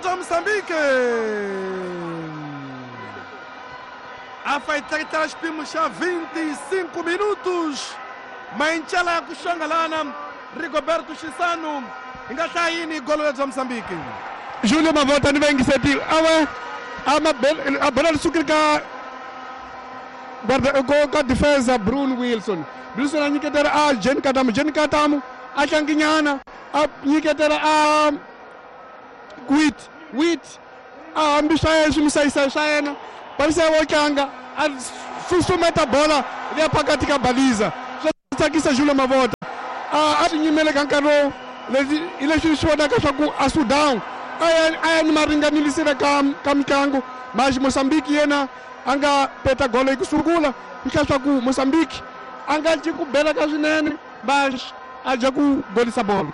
bya Mozambique. A fa yi tleketlela xipimo xa 25 minutos. Mayincela ya ku xongalana Rigoberto Chisano hi nga hlaya yini golo bya Mozambique? Julio Mavota ni vayingiseti ava a bola ri sukile ka ka defensa Bruno Wilson. Wilson a nyiketela a Jen Katamu, Jen Katamu a tlanginyana a nyiketela a Wit, Wit a hambi swa yena swi misayisa swa yena balisa wo tlanga a susumeta bola liya phakathi ka baliza swa tsakisa Julio Mavota a swi nyimele ka nkarhi lowu leswi hi leswi swi vonaka swa ku a Sudan a ya ni maringanilisile ka mitlangu mas Mozambique yena a nga peta golo yi ku sungula swi hlaya swa ku Mozambique a nga ci ku bela ka swinene mas a dya ku golisa bolo.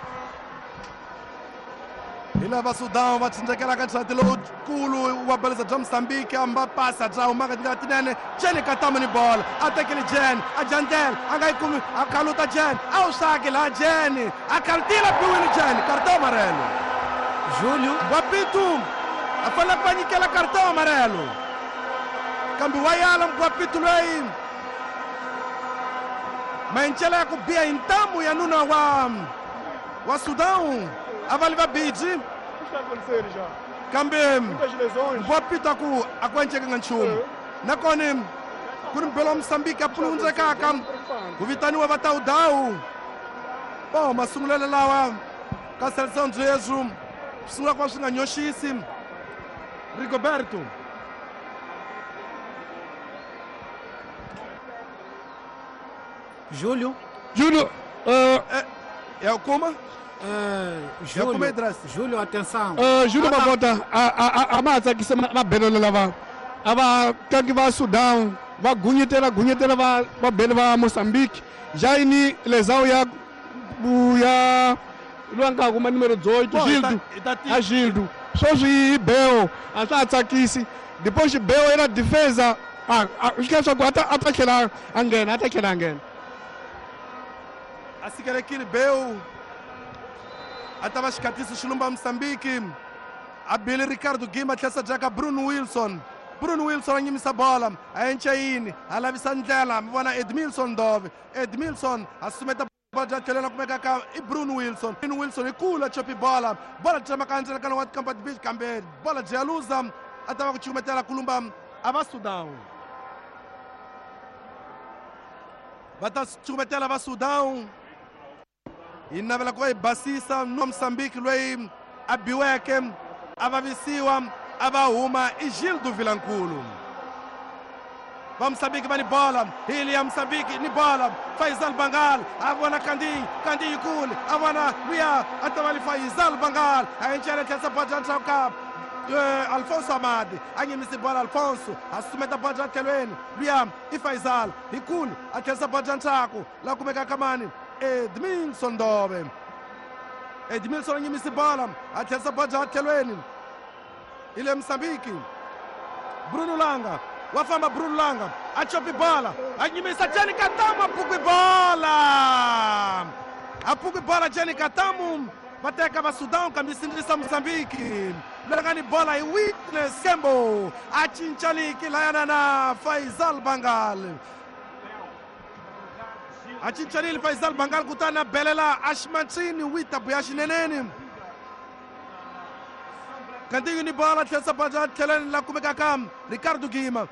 Hi lava Sudan va tsindzekelaka nxati lowukulu wa balisa bya Mozambique amba pasa bya humaka tindlela tinene Jen Katamu ni bola a tekile Jen a jandlela a nga yi kumi a khaluta Jen a wu xaki laha Jen a khalutile biwini Jen cartão amarelo. Julio Guapitu a fanele ku va nyikela cartão amarelo kambe wa yala Guapitu loyi mayincela ya ku biha hi ntamu ya nuna wa Sudan a va li va biji kambe Guapitu a ku a ku encekanga nchumu nakona ku ri mbelo wa Mozambique a pulundzekaka ku vitaniwa va Tawudawu. Bo masungulelo lawa ka Seleção Dzwezu swi sungula ku va swi nga nyoxisi Rigoberto. Julio. Júlio, ya kuma? Júlio, Júlio, atenção. Júlio Mavota a ma tsakisa mabelelo lava a va tlangi va Sudan va gunyetela gunyetela va bele va Mozambique jaini lesão ya loyi a nga kuma numero 18 Gildo a Gildo sweswi yi beo a swa ha tsakisi depois beo yena defesa swi hlaya swa ku a ta tlhela a nghena a ta tlhela a nghena a sikelekile beo a ta va xikhatiso xilumba Mozambique a bile Ricardo Gima tlhesa jaka Bruno Wilson. Bruno Wilson a nyimisa bola a enca yini a lavisa ndlela mi vona Edmilson Dove. Edmilson a sumeta bola tlhela kumeka ka i Bruno Wilson. Bruno Wilson hi kula chopi bola bola tsemaka ndzela kana wa Kampat Beach kambe bola bya luza a ta va ku chukumetela kulumba a va Sudan. Va ta chukumetela va Sudan hi navela ku va hi basisa no Mozambique loyi a biweke a vavisiwa a va huma i Gildo Vilankulu. Va Mozambique va ni bola hili ya Mozambique ni bola Faisal Bangal a vona Kandi Kandi yikulu a vona luya a ta va li Faisal Bangal a encela tlhela bola ndzhaku ka Alfonso Amadi a nyimisi bola Alfonso a sumeta bola tlhelweni luya i Faisal hikulu a tlherisa bola ndzhaku la kumeka kamani Edmilson Dove. Edmilson a nyimisi bola a tlherisa bola tlhelweni ile Mozambique. Bruno Langa wa famba Bruno Langa a chopi bola a nyimisa Jenny Katamu a pukwi bola a pukwi bola Jenny Katamu va teka va Sudan kambe sindzisa Mozambique langa ni bola hi Witness Kembo a cinca liki layana na Faisal Bangal a cincalile Faisal Bangal kutani a belela Ashmansini wita buya xineneni Kantinho ni bola tlherisa bola tlheleni la kumeka ka Ricardo Gima.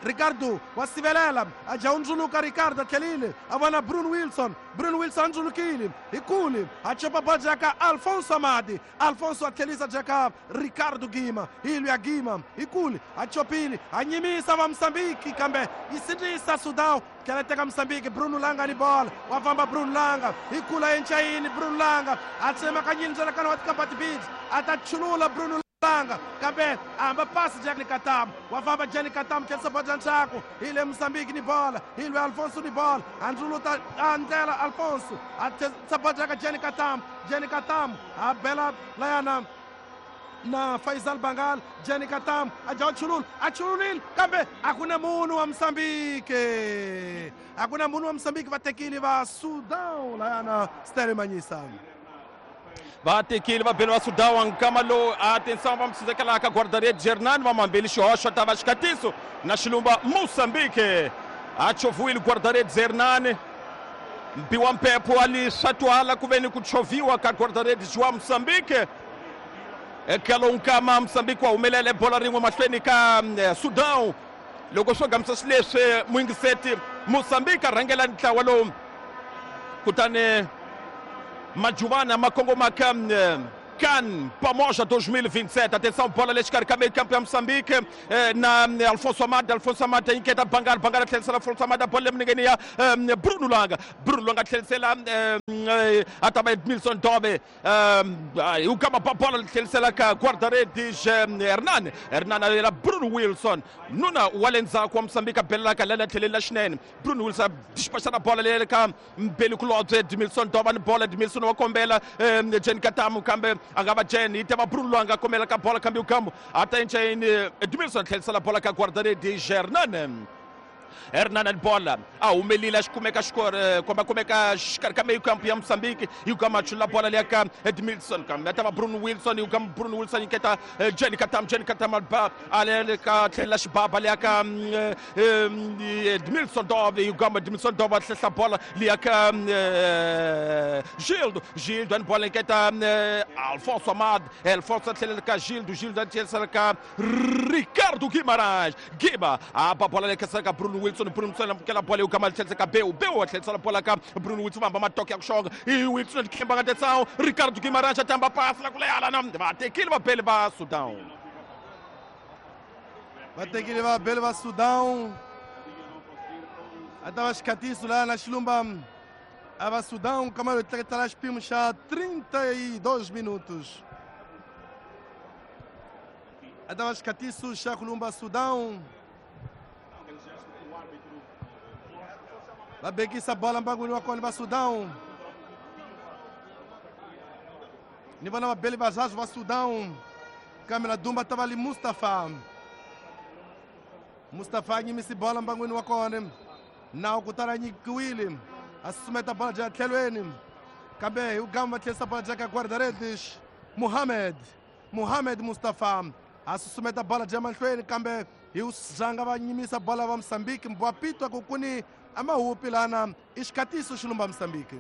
Ricardo wa sivelela a dya hundzuluka Ricardo a tlhelile a vona Bruno Wilson. Bruno Wilson a ndzulukile hi kule a chopa bola jaka Alfonso Amadi. Alfonso a tlhelisa jaka Ricardo Gima hi luya Gima hi kule a chopile a nyimisa va Mozambique kambe yi sindzisa Sudan tlhela teka Mozambique. Bruno Langa ni bola wa famba Bruno Langa hi kula enchayini Bruno Langa a tsemakanyile ndlela kana wa Kampat Beach a ta chulula Bruno Langa kambe a hamba pasi Jenny Katamu wa famba Jenny Katamu tlherisa bola ndzhaku hi le Mozambique ni bola hi lwe Alfonso ni bola a ndzuluta a ndlela Alfonso a tlherisa bola ka Jenny Katamu. Jenny Katamu a bela layana na Faisal Bangal. Jenny Katamu a dya chulula a chululile kambe a ku na munhu wa Mozambique a ku na munhu wa Mozambique va tekile va Sudan layana Stanley Manyisa. Va tekile va bele va Sudão nkama lowu atenção va msizekela ka guarda-redes Hernani va mambeli xihoxo ta va xikatiso na xilumba Moçambique a chovuile guarda-redes Hernani mbiwa mpepho ali swa ku veni ku choviwa ka guarda-redes wa Moçambique eka lowu nkama Moçambique wa humelele bola rin'we mahlweni ka Sudão loko swo gamisa xileswi muyingiseti Moçambique a rhangela ntlawa lowu kutani Majuvana makongoma ka CAN Pamoja 2027. Atenção, bola le xikarhi ka meio campo ya Moçambique na Alfonso Amada. Alfonso Amada inketa Bangala, Bangala tlherisela Alfonso Amada, bola le minengeni ya Bruno Langa. Bruno Langa tlherisela a ta va Edmilson Dove. U kama ba bola tlherisela ka guarda-redes Hernani. Hernani a yela Bruno Wilson. Nuna wa le ndzhaku wa Moçambique a belela ka lela tlheleni la xinene. Bruno Wilson dispachana bola le ka Mbeli Kulobye Edmilson Dove ni bola Edmilson wa kombela Jen Katamu kambe a nga va Jen yi teva Bruno Langa kombela ka bola kambe ukambo a ta enchayini Edmilson tlherisela bola ka guarda-redes Hernani. Hernani bola a humelile a xikumeka xikore komba kumeka xikarhi ka meio campo ya Moçambique yi kama chula bola liya ka Edmilson kambe a ta va Bruno Wilson yi kama Bruno Wilson nyiketa Jen Katamu. Jen Katamu ba a le ka tlhela xibaba liya ka Edmilson Dove yi kama Edmilson Dove a hlehla bola liya ka Gildo. Gildo ni bola nyiketa Alfonso Amad. Alfonso a tlhelela ka Gildo. Gildo a tlhelisela ka Ricardo Guimarães. Guima a ba bola liya ka Bruno Wilson. Bruno Wilson amukela bola ukama tlhelisela ka Beu. Beu a tlhelisela bola ka Bruno Wilson vamba matoke ya ku xonga i Wilson khemba nga atenção Ricardo Guimarães a tamba pasi la ku lehala na va tekile va bele va Sudão. Va tekile va bele va Sudão. A ta va xikatiso la na xilumba a va Sudão kama yo tleketela xipimo xa 32 minutos. A ta va xikatiso xa kulumba Sudão. Va bekisa bola mbangwini wa kona va Sudão. Ni vona vabeli vazazi va Sudão. Kambe na Dumba ta va li Mustafa. Mustafa a nyimisi bola mbangwini wa kona. Nawu kutani a nyikiwile. A susumeta bola dya tlhelweni. Kambe hi ugamba va tlherisa bola dya ka guarda-redes Mohamed. Mohamed Mustafa a susumeta bola dya mahlweni kambe hi zanga va nyimisa bola va Moçambique. Mbwapitwa ku kuni amahupi lana i xikatiso xilumba Moçambique.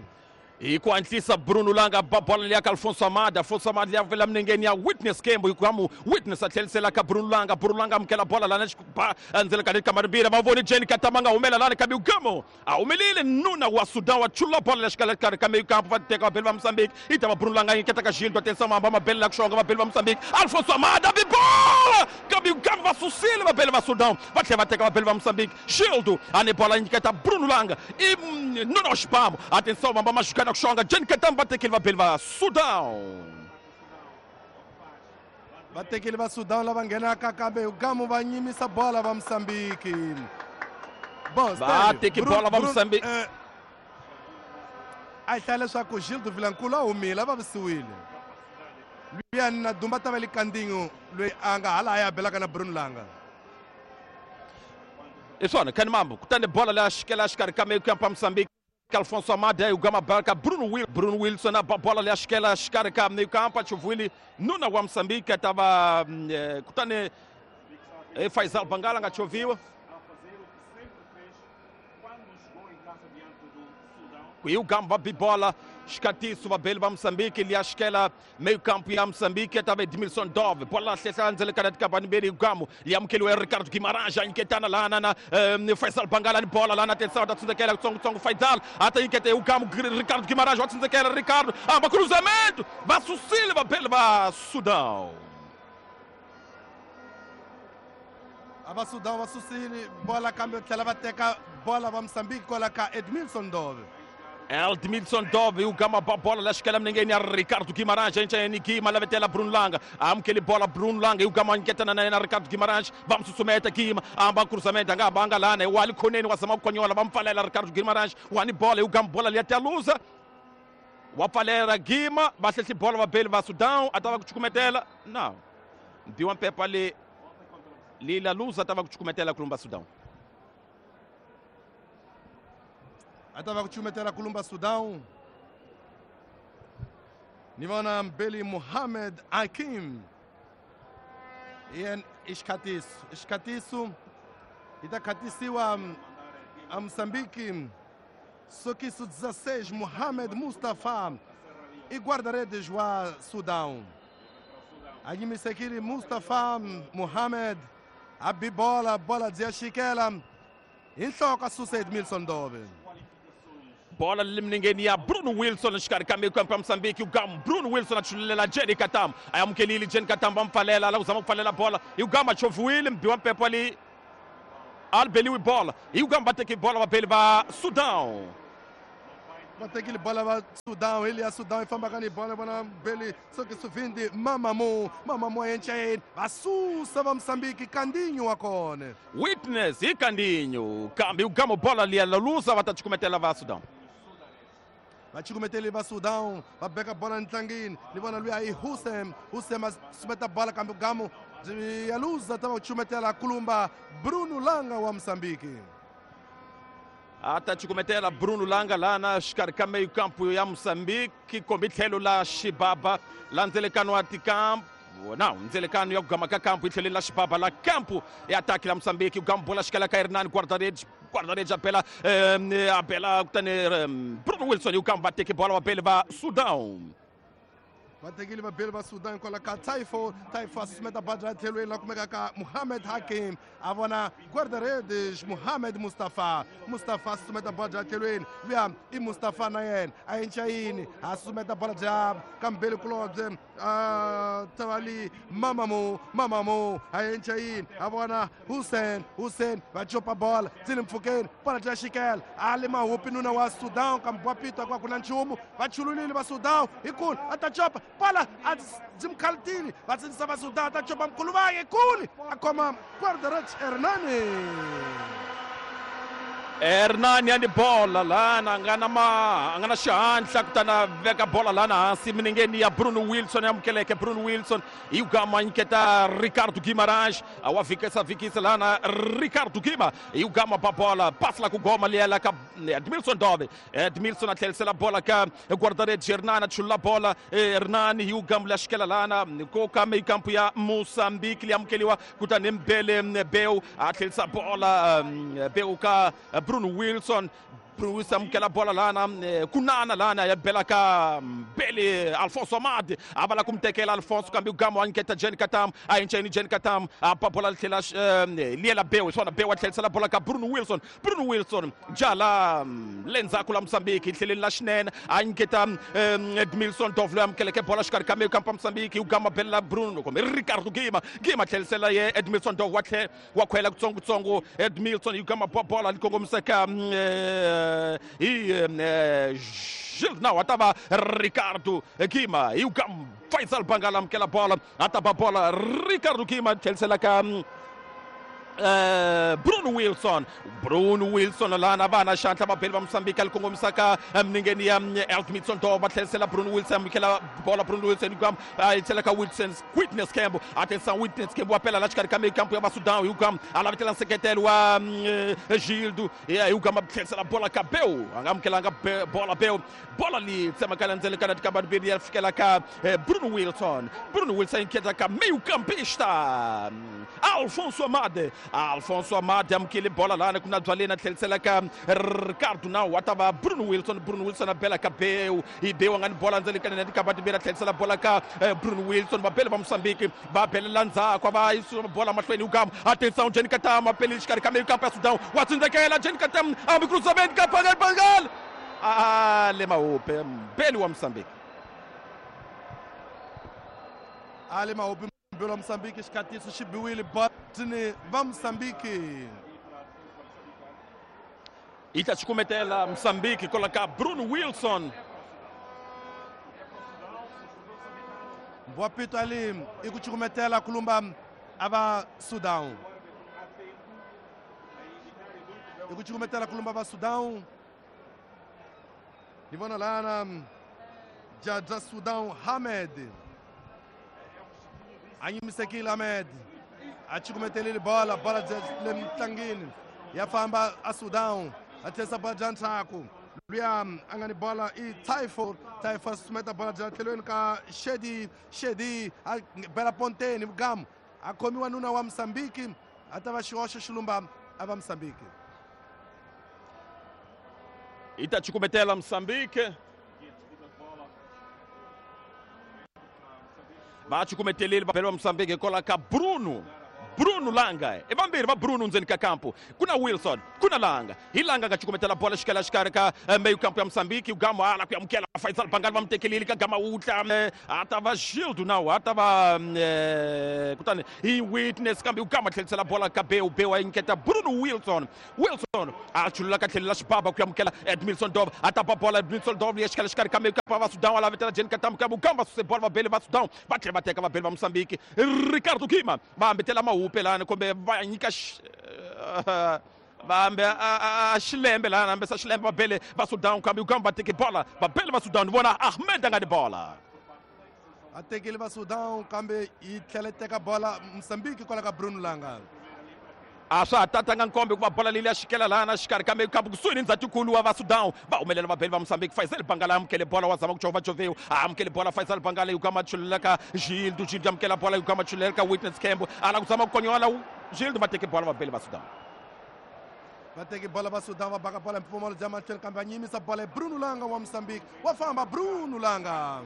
Hi ku hatlisa Bruno Langa ba bola liya ka Alfonso Amada. Alfonso Amada liya vela minengeni ya Witness Kembo hikuva Witness a tlherisela ka Bruno Langa. Bruno Langa amukela bola lana ba endzeni ka kamara mbirhi va voni Jen Katama nga humela lana kambe ugamo a humelile nuna wa Sudan wa chula bola lexikarhi karhi ka meio campo va teka vabeli va Moçambique yi ta va Bruno Langa nyiketa ka Gildo. Atenção hamba mabele la ku xonga vabeli va Moçambique Alfonso Amada bi bola kambe ugamo va susile vabeli va Sudan va tlhela va teka vabeli va Moçambique Gildo a ni bola nyiketa Bruno Langa i nuna wa xibamu. Atenção hamba machucana xonga Jen Katama va tekile vabeli va Sudão. Va tekile va Sudão lava nghenaka kambe ugamu va nyimisa bola va Moçambique. Bom, va teki bola va Moçambique. A hi hlaya leswaku Gildo Vilankulu a humile a vavisiwile. Luya na Dumba ta va le Kandinho loyi a nga hala a ya belaka na Bruno Langa. I swona khani mambo kutani bola leya xikela xikarhi ka meio campo ya Moçambique Alfonso Amada ugama barka Bruno Wilson a bola leya xikela xikarhi ka meio campo a chuvuile nuna wa Moçambique tava kutani Faisal Bangala nga choviwa e o Gamba bibola xikatiso vabeli va Moçambique liya xikela meio campo ya Moçambique tava Edmilson Dove bola hlehla ndzele ka tikabani mbirhi Gamo yamukeliwe Ricardo Guimarães a nyiketana lana na Faisal Bangala ni bola lana atenção ta tsindzekela kutsongotsongo Faisal ata nyikete Gamo Ricardo Guimarães wa tsindzekela Ricardo amba cruzamento va susile vabeli va Sudão. A va Sudão va susile bola kambe tlhela va teka bola va Moçambique kwala ka Edmilson Dove. Edmilson Dove o Gama bola la xikela minengeni ya Ricardo Guimarães enchayeni Guima lavetela Bruno Langa amukeli bola Bruno Langa o Gama nyiketana na yena Ricardo Guimarães va mu susumeta Guima amba cruzamento anga banga lana wa le khoneni wa zama ku konyola va mu pfalela Ricardo Guimarães wa ni bola o Gama bola liya tialuza wa pfalela Guima va hlehli bola va beli va Sudão a ta va ku chukumetela na mbiwa mpepa le lila luza ta va ku chukumetela kulumba Sudão. A ta va ku chumetela kulumba Sudão. Ni vona Mbeli Muhammad Hakim. Yen i xikhatiso. I xikhatiso yi ta khatisiwa a Moçambique. Sokiso 16 Muhammad Mustafa i guarda-redes wa Sudão. A nyimisekile Mustafa Muhammad a bi bola, bola dzi ya xikela hi nhloko a susa Edmilson Dove. Bola limningeni ya Bruno Wilson xikarhi ka mikampo ya Mozambique. Ugama Bruno Wilson a chululela Jenny Katam, a amukelile Jenny Katam, va mpfalela la ku zama ku pfalela bola. Ugama choviwile mbiwa mpepo ali albeliwi bola. Ugama va teki bola vabeli va Sudão. Va tekile bola va Sudão, ele ya Sudão yi fambaka ni bola vona Mbeli soki suvindi Mamamu, Mamamu a yenchayeni va susa va Mozambique Kandinho wa kona. Witness hi Kandinho, kambe Ugama bola liya la lusa va ta cukumetela va Sudão. Va cukumeteli va Sudão, va beka bola ntlangini. Ni vona luya i Hussein, Hussein a sumeta bola kambe Ugama ya luza ta va cukumetela kulumba Bruno Langa wa Mozambique. A ta cukumetela Bruno Langa lana xikarhi ka meio campo ya Mozambique, kombi tlhelo la Xibaba la ndzelekano wa tikampo. Não, ndzelekano ya ku gama ka kampo hi tlheleni la Xibaba la kampo ya ataki la Mozambique. Ugama bola xikela ka Hernani, guarda-redes, guarda-redes a bela, a bela kutani Bruno Wilson. Ugama va teki bola vabeli va Sudão. Va tekile vabeli va Sudan kwala ka Taifo, Taifo a susumeta badra tlhelweni la kumeka ka Muhammad Hakim, a vona guarda-redes Muhammad Mustafa. Mustafa a susumeta badra tlhelweni luya i Mustafa na yena a yenca yini, a susumeta bola bya ka Mbeli kulobye a tavali Mamamu, Mamamu a yenca yini, a vona Hussein, Hussein va copa bola tsini mpfhukeni, bola bya xikela a le mahupi nuna wa Sudan kambe wa pitwa kwa ku na nchumu. Va chululile va Sudan hi kulu a ta copa bola a byi va tsindzisa va Sudan ta copa mkhuluvangi kuli a khoma guarda-redes Hernani. Hernani ani bola lana a nga na ma a nga na xihatla kutani a veka bola lana hansi minengeni ya Bruno Wilson. Amukeleke Bruno Wilson, Ugama nyiketa Ricardo Guimarães, a wa vikisa vikisa lana Ricardo Guima. Ugama ba bola passa la ku goma liela ka Edmilson Dove. Edmilson a tlherisela bola ka guarda-redes Hernani, a chulula bola Hernani. Ugama la xikela lana ko ka meio campo ya Moçambique, li amukeliwa kutani Mbele Beu a tlherisa bola Beu ka Bruno Wilson. Bruno Wilson amukela bola lana kunana lana ya bela ka Mbele Alfonso Amad, a va la ku mutekela Alfonso kambe Ugama wa nyiketa Jenny Katam, a yinceni Jenny Katam a ba bola tlhela liela Beu, swona Beu a tlherisela bola ka Bruno Wilson. Bruno Wilson jala le ndzhaku la Mozambique tlheleni la xinene a nyiketa Edmilson Dove loyi amukeleke bola xikarhi ka meio campo ya Mozambique. Ugama belela Bruno kumbe Ricardo Guima, Guima tlherisela ye Edmilson Dove wa tlhe wa khwela kutsongotsongo. Edmilson Ugama ba bola li kongomisa ka hi Gilles não, a tava Ricardo Guima. Ugama Faisal Bangala amukela bola, a tava bola Ricardo Guima tlherisela ka Bruno Wilson. Bruno Wilson lana vana xandla vabeli va Mozambique ali kongomisa ka minengeni ya Edmilson Dove, va tlherisela Bruno Wilson, amukela bola Bruno Wilson Ugama a yi tlhela ka Wilson Witness Kembo, atenção Witness Kembo apela la xikarhi ka meio campo ya va Sudão. Ugama a lavetela nseketelo wa Gildo, Ugama tlherisela bola ka Beu, a nga amukelanga bola Beu, bola li tsemakala ndzele ka tikamba timbirhi ya fikela ka Bruno Wilson. Bruno Wilson nketa ka meio campista Alfonso Amade. Alfonso Amade amukele bola lana ku na byaleni a tlherisela ka Ricardo Nau, a ta va Bruno Wilson. Bruno Wilson a bela ka Beu, hi Beu a nga ni bola ndzele ka nene tikamba timbirhi a tlherisela bola ka Bruno Wilson. Vabeli va Mozambique va belela ndzhaku, va yisa bola mahlweni. Ugama atenção Jenny Katam a pele xikarhi ka meio campo ya Sudão, wa tsindzekela Jenny Katam ambi cruzamento ka Bangal Bangal a le mahupe mbeli wa Mozambique. A le mahupe mbeli wa Mozambique, xikhatiso xi biwile botini va Mozambique. Yi ta cukumetela Mozambique kwala ka Bruno Wilson. Mbwapito ali i ku cukumetela kulumba a va Sudão. I ku cukumetela kulumba va Sudão. Ni vona lana Jaja Sudão Hamed. A nyimisekile Ahmed. A cukumetelile bola, bola le mtlangini. Ya famba a Sudão. A tlherisa bola bya ndzhaku. Luya a nga ni bola i Tyfo. Tyfo a susumeta bola bya tlhelweni ka Shedi. Shedi a bela ponteni Vugamu a khomiwa nuna wa Mozambique a ta va xihoxo xilumba a va Mozambique. Yi ta cukumetela Mozambique. Va cukumetelile va bela va Mozambique hikwalaho ka Bruno. Bruno Langa i vambirhi va Bruno ndzeni ka kampu ku na Wilson ku na Langa hi Langa nga cukumetela bola xikela xikarhi ka meyu kampu ya Mozambique Gamo ala ku amukela Faisal Bangali va mu tekelile ka Gama wutla a ta va Gildo nawu a ta va kutani hi Witness kambe Gama tlhelisela bola ka Beu. Beu a nyiketa Bruno Wilson. Wilson a chulula ka tlhelo la xibaba ku amukela Edmilson Dove a ta ba bola Edmilson Dove ya xikela xikarhi ka meyu kampu va Sudan ala vitela Jeni Katamu kambe Gama va suse bola va bele va Sudan va tlhela va teka va bele va Mozambique Ricardo Gima va hambetela mahupe lana kumbe va nyika va hambe a xilembe lana hambesa xilembe va bele va Sudan kambe Uganda va teke bola va bele va Sudan vona Ahmed a nga ni bola a tekile va Sudan kambe yi tlhela teka bola Mozambique kwala ka Bruno Langa. A swa ha tatanga nkombe ku va bola leyi ya xikela lana xikarhi kambe kambe kusuhi ni ndzhatikulu wa va Sudan va humelela va beli va Mozambique Faisal Bangala amukele bola wa zama ku jova jovewu a amukele bola Faisal Bangala yukama chululela ka Gildo. Gildo amukela bola yukama chululela ka Witness Kembo ala ku zama ku konyola Gildo va teke bola va beli va Sudan. Va teke bola va Sudan va baka bola mpfumawulo bya mahlweni kambe va nyimisa bola Bruno Langa wa Mozambique wa famba Bruno Langa.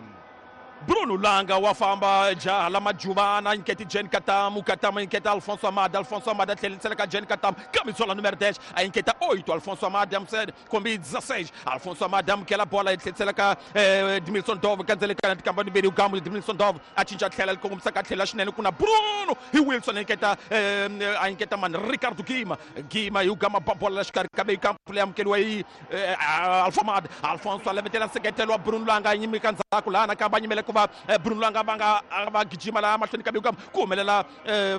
Bruno Langa wa famba jaha la majuvana nyiketi Jen Katamu. Katamu nyiketa Alfonso Amada. Alfonso Amada tlhelisela ka Jen Katamu camisola número 10 a nyiketa 8 Alfonso Amada amsed kombi 16 Alfonso Amada amukela bola yi tlhelisela ka Edmilson Dove kandzele ka tikamba mbirhi Ugamu Edmilson Dove a cinca tlhela kongomisa ka tlhela xinene ku na Bruno hi Wilson nyiketa a nyiketa mani Ricardo Gima. Gima hi Ugama ba bola la xikarhi kambe kampu leyi amukeliwa hi Alfonso Amada. Alfonso a levetela nseketelo wa Bruno Langa a nyimika ndzhaku laha nakambe a nyimele ku va Bruno Langa va nga va gijima laha mahlweni ka Ugama ku humelela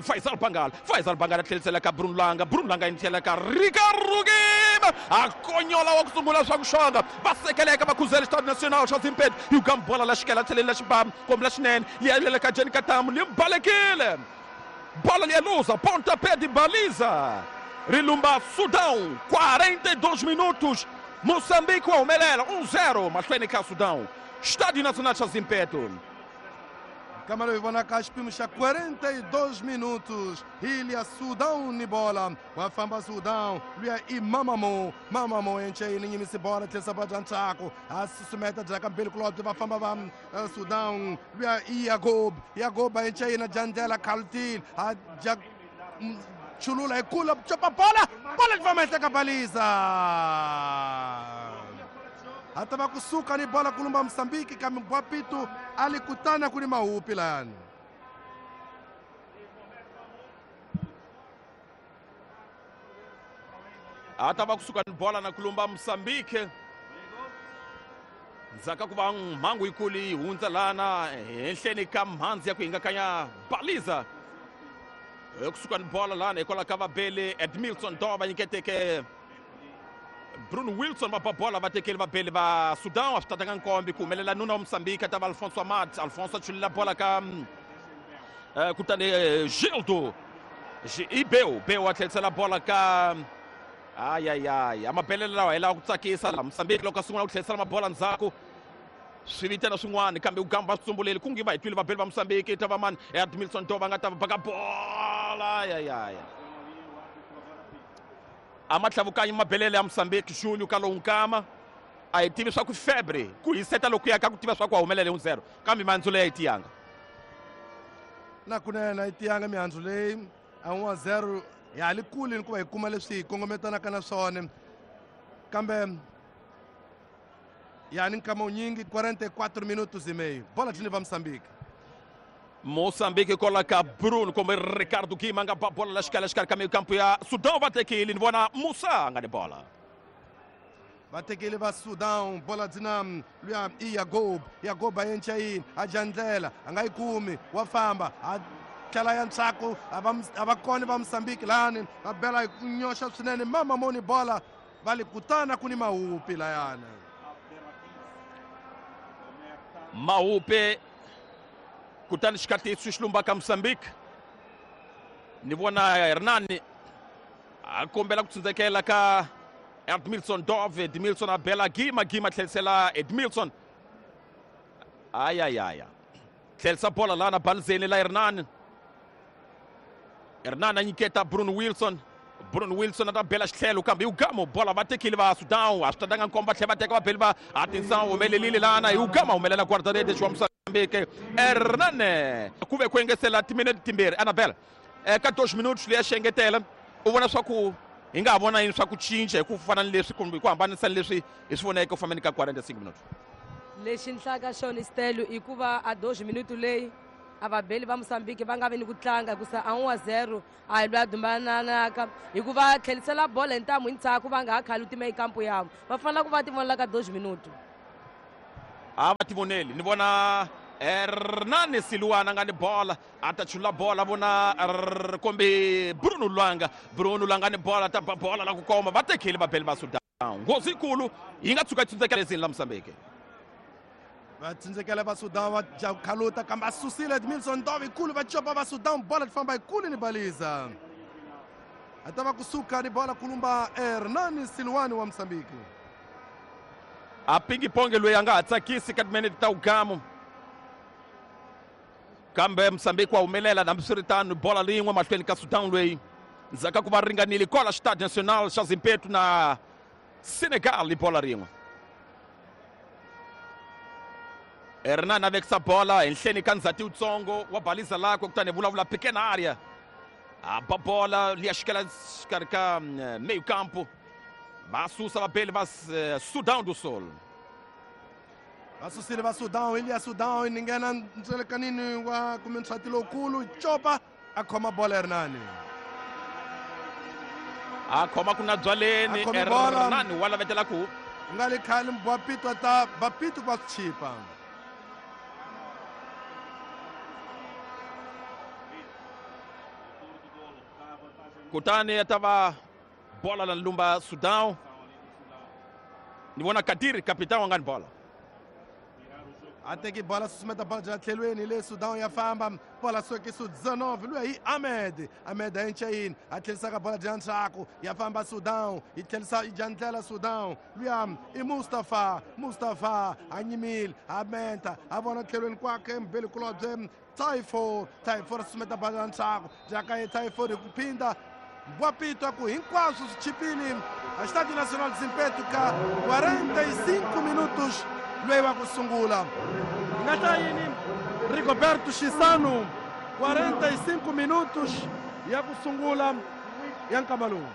Faisal Bangala. Faisal Bangala tlhelisela ka Bruno Langa. Bruno Langa yi tlhela ka Ricardo Gima a konyola wa ku sungula swa ku xonga va sekeleka va khuzela Stade National xa Zimpedi Ugama bola la xikela tlhelela xibamu kombe la xinene yi ya ka Jeni Katamu li balekile bola liya luza pontapé de baliza rilumba Sudão 42 minutos Moçambique wa humelela 1-0 mahlweni ka Sudão Estádio Nacional xa Zimpeto. Kamara hi vonaka xipimo xa 42 minutos Ilha Sudão ni bola wa famba Sudão luya i Mamamo. Mamamo encheyini nyimisi bola tlherisa bola bya ntshaku a susumeta byaka mbili kulobye va famba va Sudão luya i Yagob. Yagob a encheyina dya ndlela Khalutile a dya chulula hi kula copa bola bola yi famba henhla ka baliza hata va kusuka ni bola kulumba Mozambique kambe Mbwapitu alikutana kuni mahupi layani. Hata va kusuka ni bola na kulumba Mozambique ndzhaka ku va mhangu yikulu yi hundza lana henhleni ka mhandzi ya ku hingakanya baliza kusuka ni bola lana hikwalaho ka vabeli Edmilson Dove va nyiketeke Bruno Wilson va ba bola va tekeli vabeli va Sudan a swi tatanga nkombe ku humelela nuna wa Mozambique a ta va Alfonso Amad. Alfonso a chululela bola ka kutani Gildo i Beu. Beu a tlhelisela bola ka ayayay a mabelelo lawa hi lawa ku tsakisa la Mozambique loko a sungula ku tlhelisela mabola ndzhaku swi vitana swin'wana kambe Ugamba va swi tsumbuleli ku ngi va hi twile vabeli va Mozambique ta va mani Edmilson Dove a nga ta va baka bola ayayaya a ma tlhavukanyi mabelele ya Mozambique Júlio ka lowu nkama a hi tivi swa ku febre ku hiseta loku ya ka ku tiva swa ku a humelela hi 1-0 kambe mihandzu leyi a yi tiyanga na kunene a yi tiyanga mihandzu leyi a 1-0 ya ha li kule ni ku va hi kuma leswi hi kongometanaka na swona kambe ya ni nkama wunyingi 44 minutos e meio bola dlini va Mozambique. Moçambique coloca Bruno como Ricardo Guima nga ba bola la xikala xikarhi ka meio campo ya Sudão va tekile ni vona Musa nga ni bola va tekile va Sudão bola dzina luya i Yagob. Yagob a yenca yini a dya ndlela a nga yi kumi wa famba a tlhela ya ntshaku a va kona va Mozambique lani va bela hi ku nyoxa swinene mama moni bola va li kutana ku ni mahupi layana mahupe kutani xikatiso xilumba ka Mozambique ni vona Hernani a kombela ku tsindzekela ka Edmilson Dove, Edmilson a bela Gima, Gima tlherisela Edmilson. Ayayaya. Tlherisa bola lana balizeni la Hernan. Hernan a nyiketa Bruno Wilson. Bruno Wilson a ta bela xitlhelo kambe hi ugama bola va tekile va Sudan a swi tatanga nkomba tlhela va teka va beli va atenção humelelile lana hi ugama humelela guarda-redes wa Moçambique Hernan ku ve ku engetela timinete timbirhi Annabel ka 2 minutos leyi ya xi engetela u vona swa ku hi nga ha vona yini swa ku cinca hi ku fana ni leswi kumbe ku hambanisa ni leswi hi swi voneke ku fambeni ka 45 minutos. Lexi ni hlaka xona Stelo i ku va a 2 minuto leyi a vabeli va Mozambique va nga vi ni ku tlanga hikusa a 1-0 a hi loyi a dumbananaka hikuva tlhelisela bola hi ntamu hi ndzhaku va nga ha khali tima ekampo yavo va fanele ku va ti vonela ka 2 minuto. A va tivoneli ni vona Hernani Siluana nga ni bola a ta chula bola vona kumbe Bruno Lwanga, Bruno Lwanga ni bola ta ba bola la ku koma va tekile vabeli va Sudan nghozi yikulu yi nga tshuka yi tsundzekela ezini la Mozambique. Va tsindzekela va Sudan va ja khaluta kambe a susile Edmilson Dove yikulu va copa va Sudan bola ti famba yikulu ni baliza a ta va kusuka ni bola kulumba Hernani Siluani wa Mozambique. A pingiponge loyi a nga ha tsakisi ka timinete ta ugamu kambe Mozambique wa humelela hambiswiritano bola rin'we mahlweni ka Sudan loyi ndzhaku ka ku va ringanile kwala Stade National xa Zimpeto na Senegal bola rin'we. Hernan a vekisa bola henhleni ka ndzhati wutsongo wa baliza lakwe kutani vulavula pequena area a ba bola liya xikela xikarhi ka meio campo va susa vabeli va Sudan do Sul. Va susile va Sudan Elias Sudan ni nghena ndzelekanini wa kumbe ndzhati lowukulu copa a khoma bola Hernani a khoma ku na byaleni Hernani wa lavetela ku nga le khale mbwapito ta bapito va chipa. Kutani ta va bola la lumba Sudan ni vona Kadiri capitão wa nga ni bola a teki bola susumeta bola bya tlhelweni le Sudan ya famba bola sokiso 19 luya hi Ahmed Ahmed a encha yini a tlherisaka bola bya ndzhaku ya famba Sudan yi tlherisa yi dya ndlela Sudan luya i Mustafa Mustafa a nyimile a menta a vona tlhelweni kwakhe mbeli kulobye Typhoon Typhoon susumeta bola bya ndzhaku jaka ye Typhoon hi ku phinda Mbwapito ku hinkwaswo swi chipile a Estádio Nacional de Zimpeto ka 45 minutos loyi wa ku sungula nga ta yini Rigoberto Chisano 45 minutos ya ku sungula ya nkama lowu.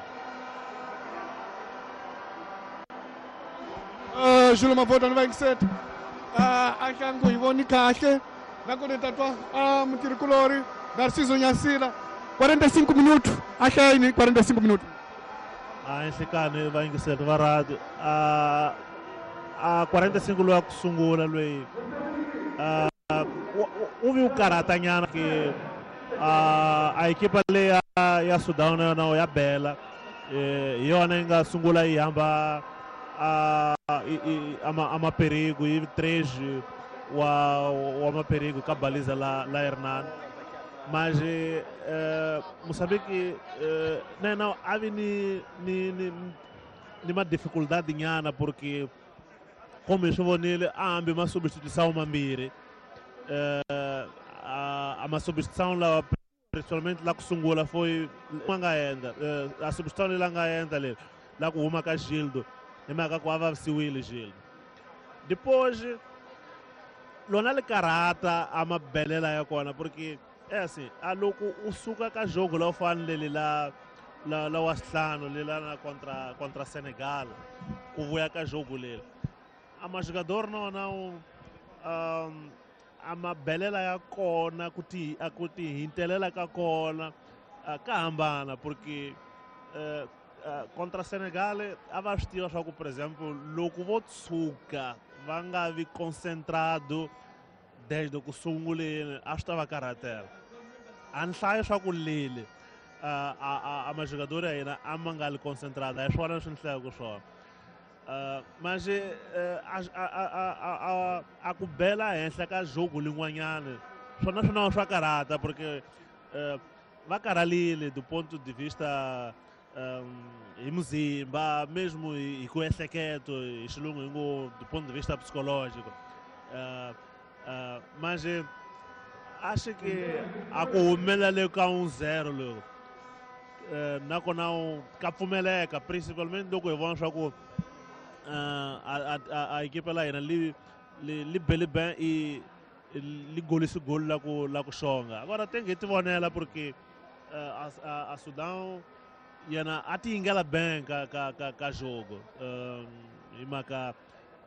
Julo Mavota ni vayingiseta a hlangu hi voni kahle nakona tatwa mutirhikulori Narciso Nyasila 45 minutos a hlaya yini 45 minutos. A nhlikani vayingiseti va radio a 45 loyi a ku sungula loyi u vi u karhatanyana ke a ekipa leyi ya Sudan na yona ya bela hi yona yi nga sungula yi hamba a maperigo yi 3 wa maperigo ka baliza la Hernan mas Moçambique na yena a vi ni ma dificuldade nyana porque como hi swi vonile a hambi ma substituição mambirhi a ma substituição lawa principalmente la ku sungula foi a nga endla a substituição leyi la nga endla leri la ku huma ka Gildo hi mhaka ku a vavisiwile Gildo depois lona li karhata a mabelela ya kona porque é assim a loko u suka ka jogo la u fanele la la wa xihlanu lela na contra Senegal ku vuya ka jogo leri a majogador na wona a mabelela ya kona ku ti a ku ti hintelela ka kona ka hambana porque contra Senegal a va swi tiva swa ku por exemple loko vo tshuka va nga vi concentrado desde ku sunguleni a swi ta va karhatela a ni hlayi swa ku lele a majogador ya hina a ma nga li concentrado a hi swona leswi ni hlayaka swona mas a ku bela henhla ka jogo lin'wanyana swona swona swa karhata porque va karhalile do ponto de vista Hi muzimba mesmo hi ku ehleketo hi xilungu hi ngo do ponto de vista psicológico. Manje acho que a ku humelela ka 1-0 loko nakona ka pfumeleka principalmente loko hi vona swa ku a equipe la hina li bele ben i li golisi gol la ku xonga. Agora tem que tivonela porque a Sudão yena a ti yingela ben ka jogo. Hi mhaka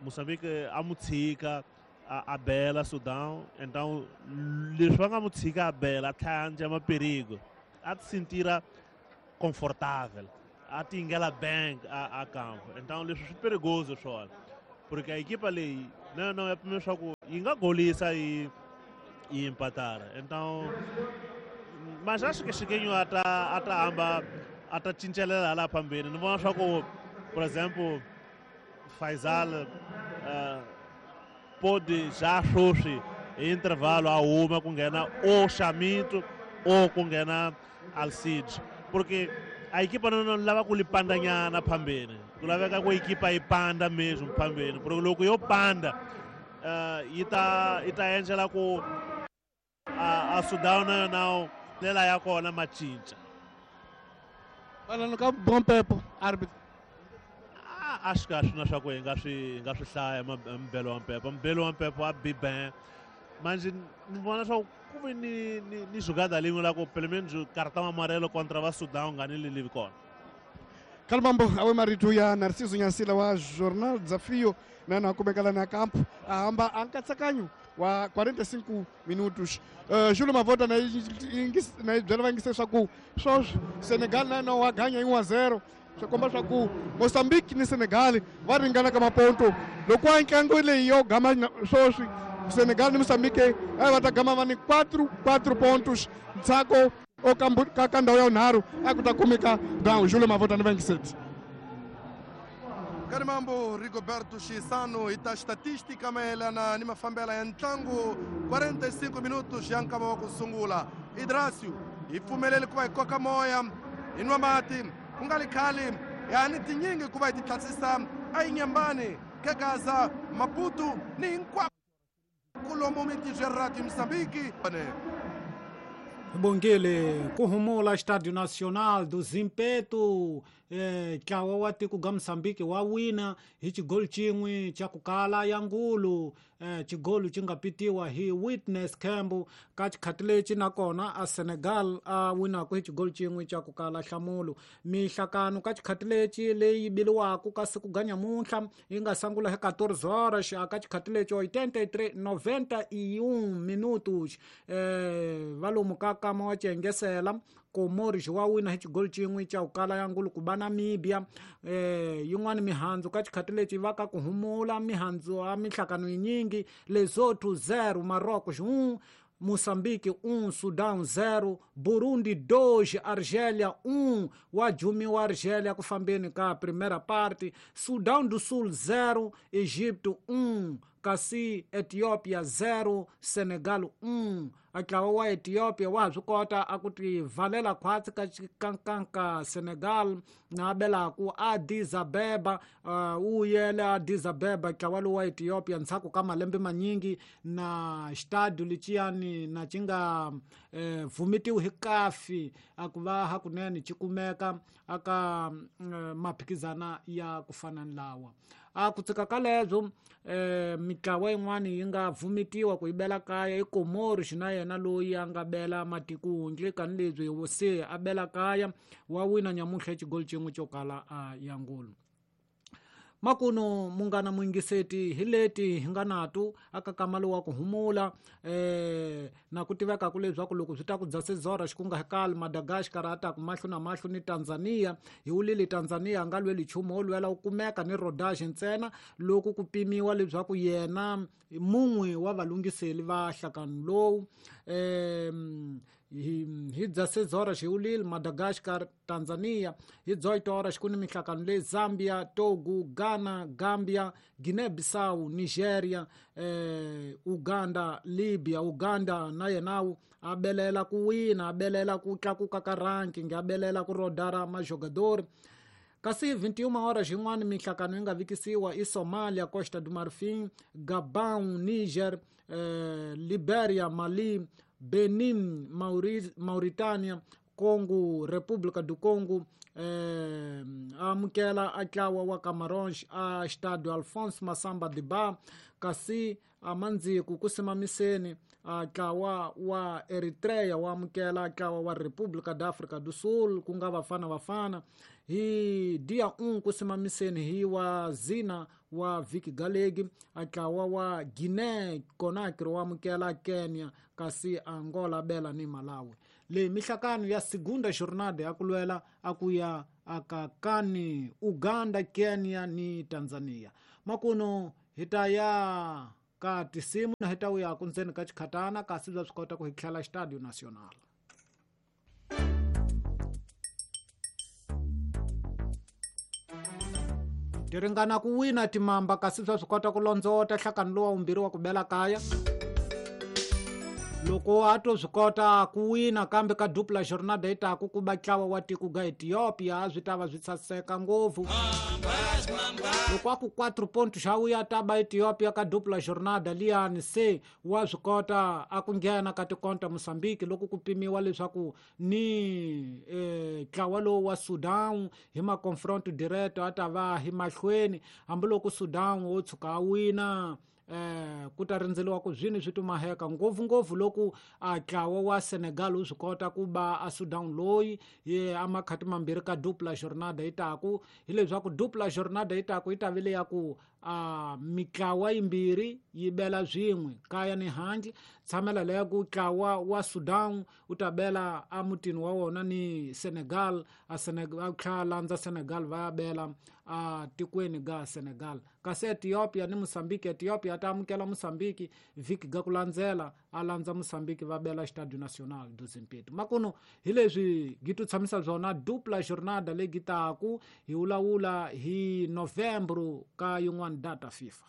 Moçambique a mu tshika a bela Sudão, então leswi va nga mu tshika a bela a tlhela a ndla maperigo a ti sentira confortável, a ti yingela ben a campo. Então leswi swi perigoso swona porque a equipa leyi na yona ya pimela leswaku yi nga golisa yi empatara. Então mas acho que Chiquinho a ta hamba a ta cincelela laha phambeni. Ni vona swa ku por exemplo Faisal pode já sweswi hi intervalo a huma ku nghena o Xamito o ku nghena Alcide, porque a equipa não lava ku li pandanyana phambeni, ku laveka ku equipa yi panda mesmo phambeni, porque loko yo panda yi ta endlela ku a Sudão na yona ndlela ya kona ma cinca. Falando ka bom pepo árbitro. Acho que acho na swa ku hi nga swi hlaya mbelo wa mpepo. Mbelo wa mpepo a bi ben. Mas ni vona swa ku ve ni jogada lin'we la ku pelo menos cartão amarelo contra va Sudão nga ni lilivi kona. Kalmambo awe marito ya Narciso Nyansila wa Jornal Desafio na na kumekala na campo a hamba a nkatsakanyo wa 45 minutos. Júlio Mavota na byela va yingise swa ku swoswi Senegal na yona wa ganya hi 1-0. Swi komba swa ku Mozambique ni Senegal va ringana ka maponto. Loko a ntlangu leyi yo gama swoswi Senegal ni Mozambique a va ta gama va ni 4 pontos ntsako o ka ndhawu ya vunharhu a ku ta kumeka down. Júlio Mavota ni va yingiseti. Karimambo Rigoberto Chisano hi ta estatística mayelana ni mafambela ya ntlangu 45 minutos ya nkama wa ku sungula. Idrasio hi pfumelele ku va hi koka moya hi nwa mati ku nga li khale ya ni tinyingi ku va hi ti tlhatlhisa a yi nyambani Kagaza Maputo ni hinkwako lomu mitijerati Mozambique. Bongile kuhumula Estádio Nacional do Zimpeto, ntlawa wa tiko ga Moçambique wa wina hi xigolo xin'we xa ku kala ya ngulu. Xigolo xi nga pitiwa hi Witness Campbell ka xikhati lexi nakona a Senegal a winaka hi xigolo xin'we xa ku kala nhlamulo. Mihlakano ka xikhati lexi leyi biliwaka ka siku ga nyamuntlha yi nga sungula hi 14 horas ka xikhati lexi 83 91 minutos. Valomu ka kama wa xiengesela Comores wa wina hi xigolo xin'we xa ku kala ya ngulu ku ba Namibia. Yin'wana mihandzu ka xikhati lexi va ka ku humula mihandzu a mihlakano yinyingi. Lesotho 0, Marrocos 1, Moçambique 1, Sudão 0, Burundi 2, Argélia 1. Wa jumiwa Argélia ku fambeni ka primeira parte. Sudão do Sul 0, Egito 1, kasi Ethiopia 0, Senegal 1. A ntlawa wa Ethiopia wa ha swi kota a ku ti valela khwatsi ka xikankanka Senegal na belaku Addis Abeba. Wu yele Addis Abeba ntlawa lowu wa Ethiopia ndzhaku ka malembe manyingi na xitadiyo lexiyani na xi nga vhumetiwi hi kafi a ku va hakunene xi kumeka aka maphikizana ya ku fana ni lawa. A ku tsika ka lebyo mitlawa yin'wana yi nga vhumetiwa ku yi bela kaya i Comores na yena loyi a nga bela matikundle kanileswi se a bela kaya wa wina nyamuntlha xigolo xin'we xo kala a ya ngulu. Makuno munghana muyingiseti hi leti hi nga nato aka kamalo wa ku humula na ku tiveka ku leswaku loko swi ta ku dza sezora xikunga hikali Madagascar a ta ku mahlo na mahlo ni Tanzania. Hi wulile Tanzania a nga lweli nchumu wo lwela wu kumeka ni rodage ntsena loko ku pimiwa leswaku yena mun'we wa valungiseli va nhlakano lowu. Hi 16 horas hi ulile Madagascar, Tanzania. Hi 18 horas ku ni minhlangano leyi Zambia, Togo, Ghana, Gambia, Guinea-Bissau, Nigeria, Uganda, Libya. Uganda na yenawu a belela ku wina, a belela ku tlakuka ka ranking, a belela ku rodara majogador. Kasi 21 horas yin'wana minhlangano yi nga vikisiwa i Somalia, Costa do Marfim, Gabon, Niger, Liberia, Mali, Benin, Mauritania, Congo, República do Congo, amukela a ntlawa wa Camarões a Estádio Alfonso Massamba Debat. Kasi amandziku ku simamiseni a ntlawa wa Eritrea wa amukela ntlawa wa República da África do Sul, ku nga Bafana Bafana. Hi dia 1 ku simamiseni hi wa Zina wa Viki Galegi, a ntlawa wa Guinea Conakry wa amukela Kenya, kasi Angola bela ni Malawi. Leyi mihlakano ya segunda jornada ya ku lwela a ku ya akakani Uganda, Kenya ni Tanzania. Makuno hi ta ya ka tisimu na hi ta vuya ku ndzeni ka xikhatana, kasi bya swi kota ku hi tlhela Estádio Nacional. Ti ringana ku wina timamba, kasi bya swi kota ku londzota nhlakano lowa vumbirhi wa ku bela kaya. Loko a to swi kota ku wina kambe ka dupla jornada yi taku ku ba ntlawa wa tiko ga Ethiopia, a swi ta va swi saseka ngopfu. Loko a ku 4 pontos xa wuya ta ba Ethiopia ka dupla jornada liyani, se wa swi kota a ku nghena ka tikonta Mozambique loko ku pimiwa leswaku ni ntlawa lowu wa Sudan hi ma confronto direto a ta va hi mahlweni, hambiloko Sudan wo tshuka a wina ku ta rindzeliwa ku zwini swi tumaheka ngopfungopfu loko a ntlawa wa Senegal wu swi kota ku ba a Sudan loyi ye a makhati mambirhi ka dupla jornada yi taku. Hileswaku dupla jornada yi taku yi ta vile ya ku a mitlawa yimbirhi yi bela swin'we kaya ni handle. Tshamela leya ku ntlawa wa Sudan wu ta bela a mutini wa wona ni Senegal, a Senegal tlhela landza Senegal va ya bela a tikweni ga Senegal. Kasi Ethiopia ni Mozambique, Ethiopia ta amukela Mozambique vhiki ga ku landzela, a landza Mozambique va bela Estádio Nacional do Zimpeto. Makuno hi leswi gi tu tshamisa byona dupla jornada leyi gi taku hi vulavula hi Novembro ka yin'wana data FIFA.